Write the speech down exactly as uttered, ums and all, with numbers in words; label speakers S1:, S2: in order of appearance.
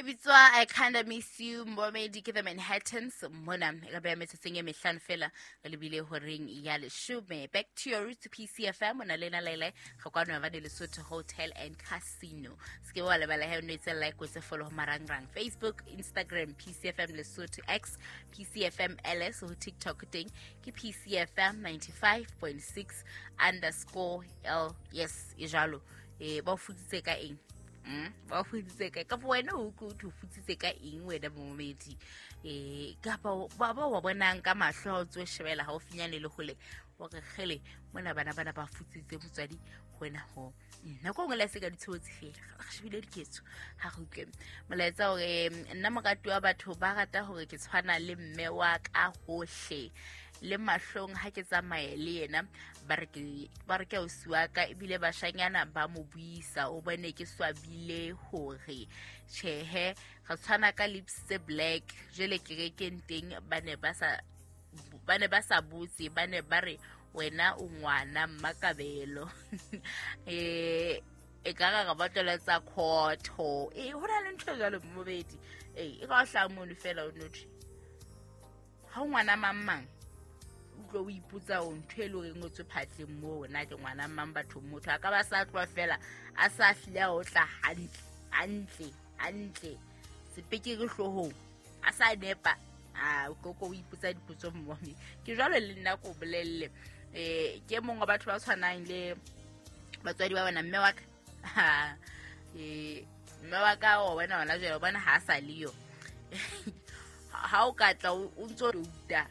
S1: E bitswa I Kinda Miss You, momedi ke The Manhattans mona e ka beya metsotsong e mehlano fela re lebile horeng ya leshome. Back to your roots, P C F M o na le na lele re kwano ba Lesotho Hotel and Casino. Se ke wa lebala he o no etse like, o etse follow ho marangrang, Facebook, Instagram, P C F M Lesotho, X, P C F M L S, ho TikTok teng ke P C F M ninety-five point six underscore L. Yes, e jalo. Eh, ba o futsitse ka eng? Mm, ba o futsitse ka kapa wena o utlwe o futsitse ka eng wena momedi? um kapa ba ba wa bonang ka mahlo ha o tso shebela haufinyane le hole hore kgele mona bana bana ba futsitse motswadi wena ho. Mm, nako nngwe le se ka ditshobotsi fela re shebile diketso. Ha re utlwe molaetsa hore nna morati wa batho ba rata hore ke tshwana le mme wa ka hohle le mahlong. Ha ke tsamaye le yena ba re ke ba re ke ausi wa ka, ebile bashanyana ba mo buisa. O bone ke swabile hore tjhehe re tshwana ka lips tse black. Jwale kerekeng teng ba ne ba sa ba ne ba sa botse, ba ne ba re wena o ngwana Mmakabelo. eh e ka re ba tloletsa khotho. E ho na le ntho e jwalo mobedi e e ka o hlaha mono fela o nothwe ha o ngwana mang mang, utlwe o ipotsa o ntho e le horeng o tswe phatleng moo, na ke ngwana mang bathong? Motho a ka ba sa tloha fela a sa hlile a o tla hantle hantle hantle sepekere hloohong a sa nepa a koko o ipotsa dipotso mmome. Ke jwalo le nna ko bolelle, um ke e mong wa batho ba tshwanang le batswadi ba bona. Mme wa ka, um mme wa ka wa bona hona jwale o bona ha a sa leyo. Ha o ka tla o ntso touta